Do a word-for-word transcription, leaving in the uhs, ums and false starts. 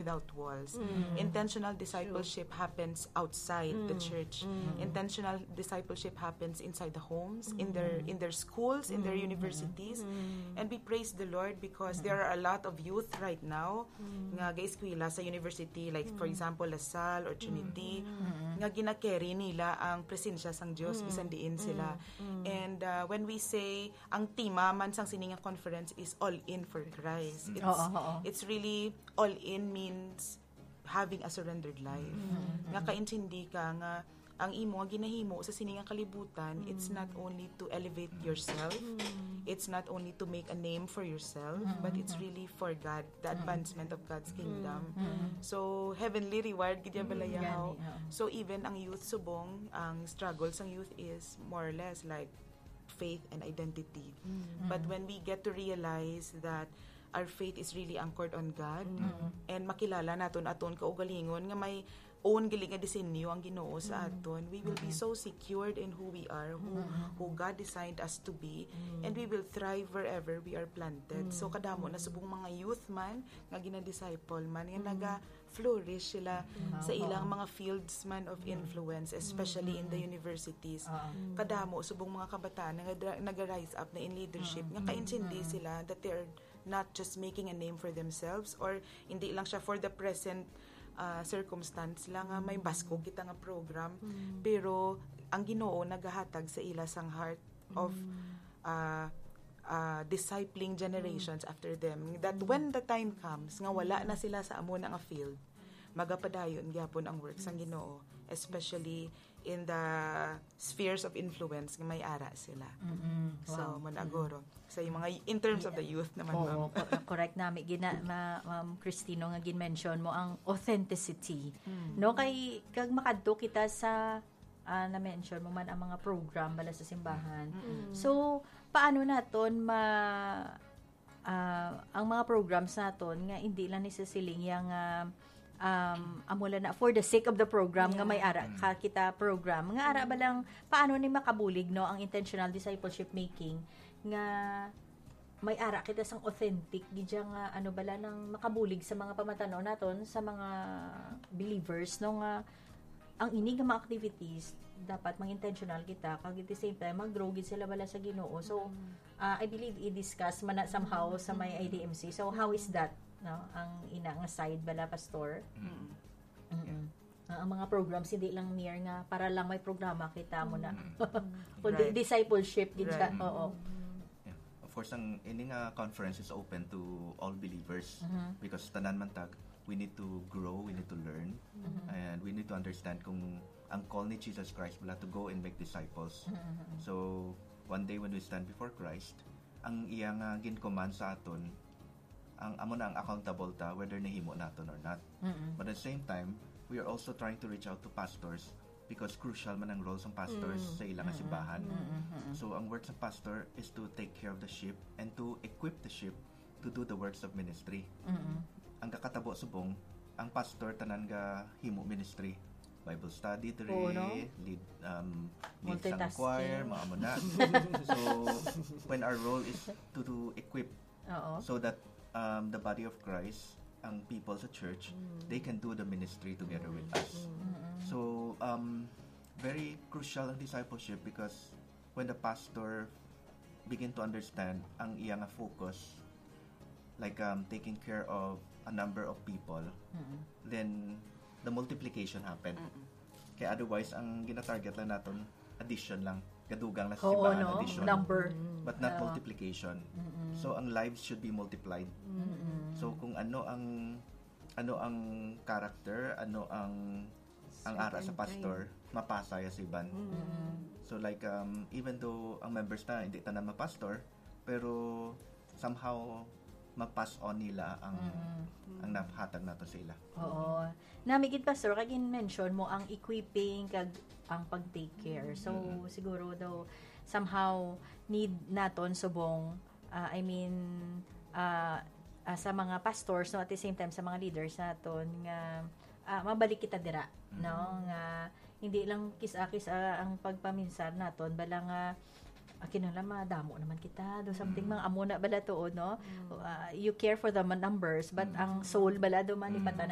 without walls. Intentional discipleship happens outside the church. Intentional discipleship happens inside the homes, in their in their schools, in their universities. And we praise the Lord because there are a lot of youth right now nga gaeskwela sa university, like, for example, La Salle or Trinity, nga ginacarry nila ang presensya sang Dios bisan diin sila. And, uh, when we say, ang tema man sang sini nga conference is All In for Christ. It's, Oo, oo. it's really, all in means having a surrendered life. Nga kaintindi ka nga ang imo nga ginahimo sa sini nga kalibutan, it's not only to elevate yourself, it's not only to make a name for yourself, but it's really for God, the advancement of God's kingdom. So, heavenly reward gid ya bala ya, Gani, haw. Oo. So, even ang youth subong, ang struggle sang youth is more or less like faith and identity. But when we get to realize that our faith is really anchored on God, and makilala naton aton kaugalingon nga may own gali nga disenyo ang Ginoo sa aton, we will be so secured in who we are, who, who God designed us to be, and we will thrive wherever we are planted. So, kadamo na subong mga youth man nga gina-disciple man, nga naga-flourish sila sa ilang mga fields man of influence, especially in the universities. Kadamo subong mga kabataan nga naga-, naga-rise up na in leadership, nga kaintindi sila that they are not just making a name for themselves, or hindi lang siya for the present, ah, circumstance lang nga may baskog kita nga program, pero ang Ginoo nagahatag sa ila sang heart of, ah, ah, discipling generations after them, that when the time comes nga wala na sila sa amo na nga field, magapadayon gyapon ang work sang Ginoo, especially in the spheres of influence nga may ara sila. Mm-mm. So, Wow. mo na, guro. Sa yung mga, in terms of the youth naman, Oo, ma'am. co-, correct nami gina, ma-, Ma'am Cristino, nga gin-mention mo ang authenticity. No, kay kag makadto kita sa, ah, na-mention mo man ang mga program bala sa simbahan. So, paano naton ma-, ah, ang mga programs naton nga hindi lang ni sa siling yang, ah, um, amo lang na for the sake of the program nga may ara ka kita program, nga ara ba lang, paano ni makabulig, no, ang intentional discipleship making nga may ara kita sang authentic gid siya nga, ano bala, nang makabulig sa mga pamatan-aw naton, sa mga believers, no, nga ang ini nga mga activities dapat mag-intentional kita, kag at the same time mag-grow gid sila bala sa Ginoo. So, ah, I believe i-discuss man na somehow sa may I D M C. So, how is that, no? Ang ina nga side bala, Pastor? Mm. Mm-mm. Ah, ang mga programs, hindi lang mere nga para lang may programa kita mo na. Kundi Right. discipleship gid siya. Right. Oo. Yeah. Of course, ang ini nga conference is open to all believers, because tanan man tag, we need to grow, we need to learn, and we need to understand kung ang call ni Jesus Christ wala to go and make disciples. So, one day when we stand before Christ, ang iya nga gin-command sa aton, ang amo na ang accountable ta whether nahimo naton or not. But at the same time, we are also trying to reach out to pastors because crucial man ang role sang pastors sa ilang simbahan. So, ang work sa pastor is to take care of the sheep and to equip the sheep to do the works of ministry. Ang kakatabo subong, ang pastor tanan ga himo ministry. Bible study diri, Oo, no? lead, um, lead sa Multitasking. choir, mga amo na. So, when our role is to, to equip Oo. so that, um, the body of Christ, ang people sa church, they can do the ministry together with us. So, um, very crucial ang discipleship because when the pastor begin to understand ang iya nga focus, like, um, taking care of a number of people, then the multiplication happen. Kaya otherwise, ang ginatarget lang naton, addition lang. Gadugang lang sa Oo, simbahan, no? addition. Number. But not Oo. multiplication. So, ang lives should be multiplied. So, kung ano ang, ano ang character, ano ang, ang ara sa Certain pastor, mapasa ya sa iban. So, like, um, even though ang members na, hindi tanan mapastor, pero somehow, ma-pass on nila ang, ang nahatag nato sa ila. Oo. Nami gid, Pastor, kag in-mention mo ang equipping kag ang pag-take care. So, Mm-mm. siguro daw, somehow, need naton subong, ah, I mean, ah, ah, sa mga pastors, no, at the same time, sa mga leaders naton nga, ah, mabalik kita dira, Mm. no, nga hindi lang kis-a-kis-a ang pagpaminsar naton, bala nga, ah, kinahanglan madamo naman kita, do something, Mm. mga amo na bala tuod, no? Mm. Ah, you care for the ma-, numbers, but Mm. ang soul bala do man, Mm. ipatanan